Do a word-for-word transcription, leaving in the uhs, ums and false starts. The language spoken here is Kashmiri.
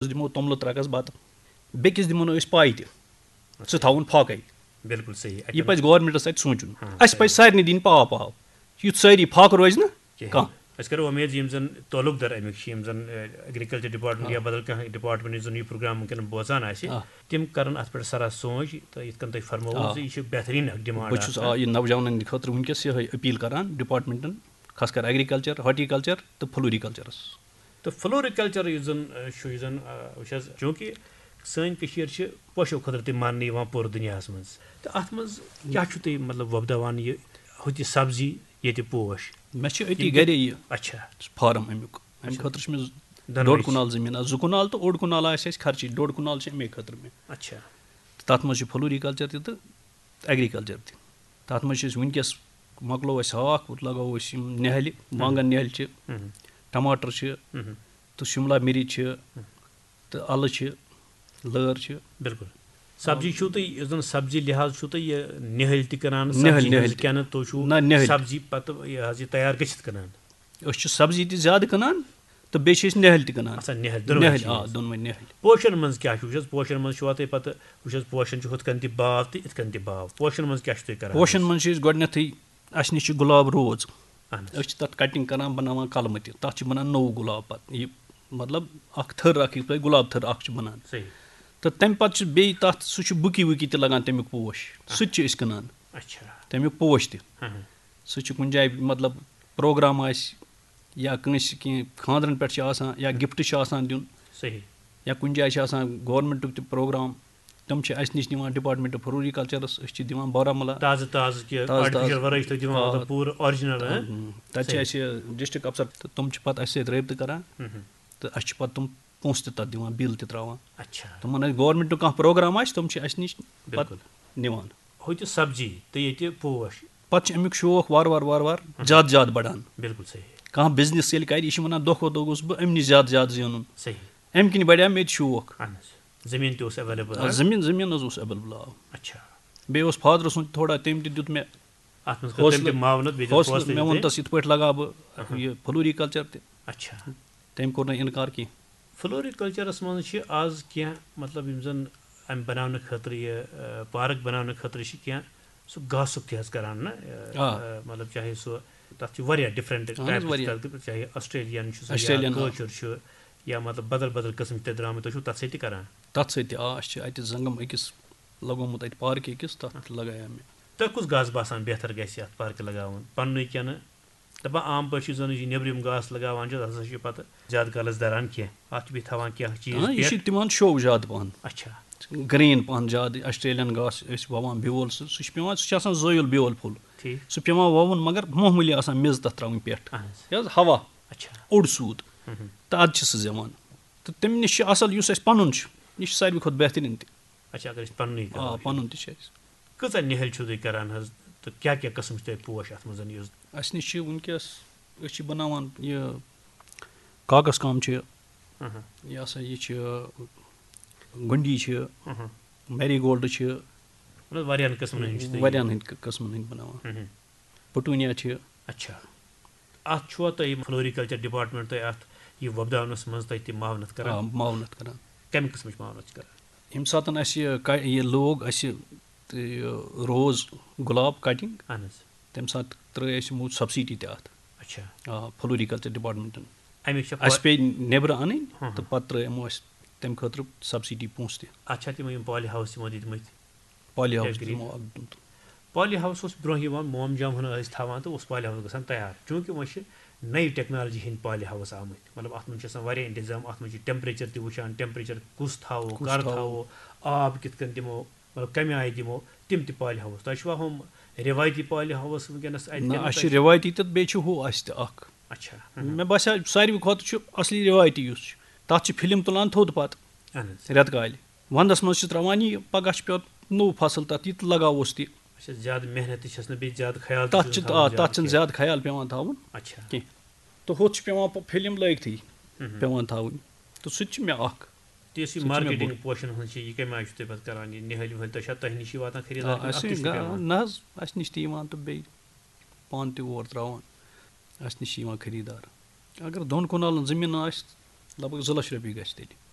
دِمو توٚملہٕ ترٛکَس بَتہٕ، بیٚکِس دِمو نہٕ أسۍ پاے تہِ، سُہ تھاوُن فاقَے۔ بِلکُل صحیح۔ یہِ پَزِ گورمنٹَس اَتہِ سونٛچُن۔ اَسہِ پَزِ سارنٕے دِنۍ پاو پاو، یُتھ سٲری فاقہٕ روزِ نہٕ کانٛہہ۔ أسۍ کَرو وۄمید زِ یِم زَن تعلق دار اَمِکۍ چھِ، یِم زَن ایگریکلچر ڈپارٹمنٹ یا بدل کانٛہہ ڈپارٹمنٹ یُس زَن یہِ پروگرام وٕنکیٚن بوزان آسہِ، تِم کَرَن اَتھ پٮ۪ٹھ سَرا سونٛچ تہٕ یِتھ کٔنۍ تۄہہِ فرمووُ زِ یہِ چھِ بہتریٖن اَکھ ڈِمانڈ۔ بہٕ چھُس آ یہِ نوجوانَن ہٕنٛدِ خٲطرٕ وٕنکیٚس یِہوٚے اپیٖل کَران ڈپارٹمنٹَن، خاص کر ایگریکلچر، ہارٹیکلچر تہٕ فلوریکلچرَس۔ تہٕ فلوریکلچر یُس زَن چھُ، یُس زَن وٕچھ حظ، چوٗنٛکہِ سٲنۍ کٔشیٖر چھِ پوشو خٲطرٕ تہِ ماننہٕ یِوان پوٗرٕ دُنیاہَس منٛز، تہٕ اَتھ منٛز کیٛاہ چھُو تُہۍ مطلب وۄپداوان، یہِ ہُتہِ سبزی ییٚتہِ پوش؟ مےٚ چھِ أتی گرے یہِ اچھا۔ فارم اَمیُک۔ اَمہِ خٲطرٕ چھُ مےٚ دۄنوَے ڈوٚڈ چھِ۔ کنال زٔمیٖن، آ، زٕ کنال تہٕ اوٚڑ کنال آسہِ اَسہِ خرچی، ڈوٚڈ کنال چھِ اَمے خٲطرٕ مےٚ۔ اچھا۔ تہٕ تَتھ منٛز چھِ فلوریکلچر تہِ تہٕ ایگریکلچر تہِ۔ تَتھ منٛز چھِ أسۍ وٕنکیٚس، مۄکلو اَسہِ ہاکھ، وۄنۍ لگاوو أسۍ یِم نِہَلہِ، وانگن نِہَلہِ چھِ، ٹماٹر چھِ، تہٕ شملہ مرچ چھِ، تہٕ اَلہٕ چھِ، لٲر چھِ۔ بِلکُل۔ سبزی چھُو تُہۍ، یُس زَن سبزی لحاظ چھُو تُہۍ یہِ نِہَلۍ تہِ کٕنان، نِہَلۍ، سبزی نِہَلۍ ہٕنٛز تہِ۔ کِنہٕ تُہۍ چھُو نہ، نِہَلۍ تہِ۔ سبزی پَتہٕ یہِ حظ یہِ تیار گٔژھِتھ کٕنان؟ أسۍ چھِ سبزی تہِ زیادٕ کٕنان تہٕ بیٚیہِ چھِ أسۍ نِہَلۍ تہِ کٕنان۔ اچھا، نِہَلۍ، دۄنوَے نِہَلۍ، چیٖز۔ آ، دۄنوَے نِہَلۍ۔ پوشن منٛز کیٛاہ چھُ؟ وٕچھ حظ، پوشن منٛز چھُ واتٕے پَتہٕ، وٕچھ حظ، پوشن چھُ ہُتھ کَنۍ تہِ باو تہٕ یِتھ کَنۍ تہِ باو۔ پوشن منٛز کیٛاہ چھُو تُہۍ کران؟ پوشن منٛز چھِ أسۍ گۄڈٕنیتھٕے، اَسہِ نِش چھِ گۄلاب روز، اہن حظ۔ أسۍ چھِ تَتھ کٹنگ کران، بَناوان کلمہٕ تہِ، تَتھ چھِ بَنان نوٚو گۄلاب پَتہٕ۔ یہِ مطلب اکھ تھٔر اکھ، یِتھ پٲٹھۍ گۄلاب تھٔر اکھ چھِ بَنان۔ صحیح۔ تہٕ تَمہِ پَتہٕ چھِ بیٚیہِ تَتھ، سُہ چھُ بُکی وُکی تہِ لگان تَمیُک پوش، سُہ تہِ چھِ أسۍ کٕنان، اچھا۔ تَمیُک پوش تہِ۔ ہاں، ہاں۔ سُہ چھُ کُنہِ جایہِ مطلب پروگرام آسہِ یا کٲنٛسہِ کینٛہہ خانٛدرَن پٮ۪ٹھ چھِ آسان یا گفٹ چھِ آسان دیُن صحیح۔ یا کُنہِ جایہِ چھِ آسان گورمنٹُک تہِ پروگرام، تِم چھِ اَسہِ نِش نِوان ڈپارٹمنٹ آف فلوریکلچرس، أسۍ چھِ دِوان بارہمولہ۔ تازٕ تازٕ کہِ تازٕ تازٕ۔ آرٹیفیشل ورٲے چھِ تُہۍ دِوان آ۔ مطلب پوٗرٕ آرجنل، ہاں؟ تَتہِ چھِ اَسہِ ڈسٹرکٹ افسر تہٕ تِم چھِ پَتہٕ اَسہِ سۭتۍ رٲبطہٕ کران تہٕ اَسہِ چھِ پَتہٕ تِم پونٛسہٕ تہِ تَتھ دِوان، بِل تہِ تراوان۔ اچھا۔ تِمن آسہِ گورمنٹُک کانٛہہ پروگرام آسہِ، تِم چھِ اَسہِ نِش پَتہٕ بِلکُل۔ نِوان۔ ہُتہِ سبزی تہٕ ییٚتہِ پوش۔ پَتہٕ چھُ اَمیُک شوق وارٕ وارٕ وارٕ وارٕ زیادٕ زیادٕ بَڑان۔ بِلکُل صحیح۔ کانٛہہ بِزنِس ییٚلہِ کَرِ، یہِ چھُ وَنان، دۄہ کھۄتہٕ دۄہ گوٚژھ بہٕ اَمہِ نِش زیادٕ زیادٕ زینُن۔ صحیح۔ اَمہِ کِنۍ بَڑیو مےٚ تہِ شوق۔ اہن حظ۔ زٔمیٖن تہِ اوس ایویلیبل، آ، زٔمیٖن، زٔمیٖن حظ اوس ایویلیبل، آ۔ اچھا۔ بیٚیہِ اوس فادرٕ سُنٛد تھوڑا، تٔمۍ تہِ دیُت مےٚ اَتھ منٛز کٔر تٔمۍ تہِ حوصلہٕ، معاونت، بیٚیہِ دیُت حوصلہٕ۔ حوصلہٕ مےٚ تہِ۔ ووٚن تَس یِتھ پٲٹھۍ لگاو بہٕ یہِ فلوریکلچر تہِ۔ اچھا۔ تٔمۍ کوٚر نہٕ اِنکار کینٛہہ۔ فلوریکلچرس منٛز چھِ آز کینٛہہ، مطلب، یِم زَن اَمہِ بَناونہٕ خٲطرٕ یہِ، آ، پارک بَناونہٕ خٲطرٕ چھِ کینٛہہ سُہ گاسُک تہِ حظ کَران نہ، آ، آ۔ آ، مطلب، چاہے سُہ، تَتھ چھِ واریاہ ڈِفرَنٹ اہن حظ، ٹایپٕس واریاہ۔ تَتھ، چاہے آسٹریلین چھُ سُہ یا آسٹریلین، آ۔ کٲشُر چھُ یا، مطلب، بدل بدل قٕسم چھِ تَتہِ درٛامٕتۍ، تُہۍ چھُو تَتھ سۭتۍ تہِ کَران؟ تَتھ سۭتۍ تہِ، آ، اَسہِ چھِ اَتہِ زنٛگَم أکِس لَگومُت، اَتہِ پارکہِ أکِس، تَتھ لَگایو مےٚ۔ تۄہہِ کُس گاسہٕ باسان بہتر گژھِ اَتھ پارکہِ لَگاوُن، پَننُے کِنہٕ دَپان عام پٲٹھۍ چھِ یُس زَن یہِ نیٚبرِم گاسہٕ لَگاوان چھِ، تَتھ ہسا چھِ پَتہٕ زیادٕ کالَس دَران کینٛہہ، اَتھ چھِ بیٚیہِ تھاوان کینٛہہ چیٖز آ، یہِ چھِ پٮ۪ٹھ۔ تِمَن شو زیادٕ پَہَن۔ اچھا۔ گرٛیٖن پَہَن زیادٕ، آسٹریلین گاسہٕ أسۍ وَوان بیول، سُہ، سُہ چھُ پٮ۪وان، سُہ چھُ آسان زٲیُل بیول پھوٚل۔ ٹھیٖک۔ سُہ پٮ۪وان وَوُن، مگر معموٗلی آسان میٚژ تَتھ ترٛاوٕنۍ پٮ۪ٹھ۔ اہن حظ۔ یہِ حظ ہوا، اچھا۔ اوٚڑ سوٗد۔ تہٕ اَدٕ چھِ سُہ زٮ۪وان۔ تہٕ تَمہِ نِش چھِ اَصٕل، یُس اَسہِ پَنُن چھُ، یہِ چھُ ساروی کھۄتہٕ بہتریٖن تہِ۔ اچھا، اگر أسۍ پَننُے آ، کَرو۔ پَنُن تہِ چھُ اَسہِ۔ کۭژاہ نِہٲلۍ چھِو تُہۍ کَران حظ، تہٕ کیٛاہ کیٛاہ قٕسم چھِ تۄہہِ پوش اَتھ منٛز یُس؟ اَسہِ نِش چھِ وٕنکیٚس، أسۍ چھِ بَناوان یہِ کاغذ کام چھِ، اہن۔ یہِ ہسا یہِ چھِ، گُنڈی چھِ، اہن۔ میری گولڈ چھِ، مطلب، واریاہَن قٕسمَن ہٕنٛدۍ چھِ تُہۍ یہِ۔ واریاہَن ہٕنٛدۍ قٕسمَن ہٕنٛدۍ بَناوان۔ اہن۔ پٹوٗنیا چھِ۔ اچھا۔ اَتھ چھُوا تۄہہِ فلوریکلچر ڈپارٹمنٹ تۄہہِ اَتھ یہِ وۄپداونَس منٛز تۄہہِ تہِ معاونت کران؟ آ، معاونت کران۔ کَمہِ قٕسمٕچ معاونت چھِ کران؟ ییٚمہِ ساتہٕ اَسہِ یہِ کا-، یہِ لوگ اَسہِ تہٕ یہِ روز گۄلاب کٹنگ، اہن حظ۔ تَمہِ ساتہٕ ترٲے اَسہِ یِمو سبسڈی تہِ اَتھ۔ اچھا۔ آ، فلوریکلچر ڈپارٹمنٹن۔ اَمِچ چھا اَسہِ پیٚیہِ نیبرٕ اَنٕنۍ ہاں۔ تہٕ پَتہٕ ترٲے یِمو اَسہِ تَمہِ خٲطرٕ سبسڈی پونٛسہٕ تہِ۔ اَتھ چھا تِمو یِم پالی ہاوُس تِمو دِتمٕتۍ؟ پالی ہاوُس اگری۔ دِمو اَکھ دیُت۔ پالی ہاوُس اوس برونٛہہ یِوان، موم جام ہن ٲسۍ تھاوان تہٕ اوس پالی ہاوُس گژھان تیار، چوٗنٛکہِ وۄنۍ چھِ نٔے ٹیکنالوجی ہٕنٛدۍ پالی ہاوُس آمٕتۍ، مطلب، اَتھ منٛز چھِ آسان واریاہ انتظام، اَتھ منٛز چھِ ٹیمپریچر تہِ وٕچھان، ٹیمپریچر کُس تھاوو، کُس کر تھاوو۔ تھاوو، آب کِتھ کٔنۍ دِمو، مطلب، کَمہِ آیہِ دِمو، تِم تہِ پالی ہاوُس۔ تۄہہِ چھُوا ہُم رِوایتی پالی ہاوُس وٕنکیٚنَس اَتہِ نہ، کِنہٕ اَسہِ تۄہہِ چھِ رِوایتی تہٕ بیٚیہِ چھُ ہُہ اَسہِ تہِ اَکھ۔ اچھا۔ ہُم۔ مےٚ باسیٛو ساروی کھۄتہٕ چھُ اَصلی رِوایتی یُس چھُ، تَتھ چھِ فِلم تُلان تھوٚد پَتہٕ اہن حظ۔ رٮ۪تہٕ کالہِ۔ وَندَس منٛز چھِ ترٛاوان یہِ، پَگاہ چھُ پٮ۪وان نوٚو فصٕل تَتھ، یہِ تہِ لَگاووس تہِ۔ اچھا، زیادٕ محنت تہِ چھَس نہٕ بیٚیہِ زیادٕ خیال تہِ تَتھ چھُس چھِ، نہٕ تھاوُن آ، زیادٕ تَتھ چھِنہٕ کینٛہہ۔ زیادٕ خیال پٮ۪وان تھاوُن اچھا۔ کینٛہہ۔ تہٕ ہُتھ چھِ پٮ۪وان پَ-، فِلم لٲگتھٕے ہُم۔ پٮ۪وان تھاوٕنۍ۔ تہٕ سُہ تہِ چھُ مےٚ اَکھ۔ تہٕ یُس یہِ سُہ تہِ چھُ مےٚ مارکیٹنگ بوٚڑ۔ پوشن ہٕنٛز چھِ، یہِ کَمہِ آیہِ چھُ تُہۍ پَتہٕ کران؟ یہِ نِہٲلۍ وِہٲلۍ، تۄہہِ چھا تۄہہِ نِش یہِ واتان خریٖدار آ، کِنہٕ اَتھ اَسہِ تہِ چھُ چھِ گا-، پٮ۪وان؟ نہ حظ، اَسہِ نِش تہِ یِوان تہٕ بیٚیہِ پانہٕ تہِ اور ترٛاوان۔ اَسہِ نِش چھِ یِوان خریٖدار۔ اگر دۄن کنالن زٔمیٖن آسہِ، لگ بگ زٕ لچھ رۄپیہِ گژھِ تیٚلہِ۔